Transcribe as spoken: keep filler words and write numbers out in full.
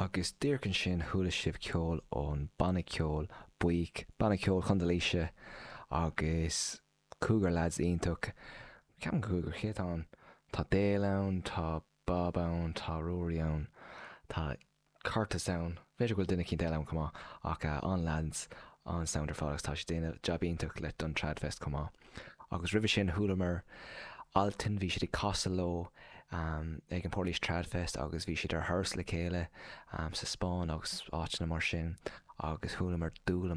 Agus díreach ansin chuala sibh ceol ón banna ceoil Buíoch, banna ceoil Chontae Laoise agus cúigear lads iontach. Ceapaim cúigear cé atá ann? Tá Dale ann, tá Bob ann, tá Rory ann, tá Curtis ann. B'fhéidir go bhfuil duine éicint eile ann chomh maith ach uh, an-lads an-sound ar fad agus tá siad ag déanamh jab iontach le don Tradfest chomh maith. Agus roimhe sin chualamar Altan bhí siad ag casadh leo um, ag an Portlaoise Tradfest agus bhí siad ar thuras le chéile um, sa Spáinn agus áiteanna mar sin agus chualamar Dúla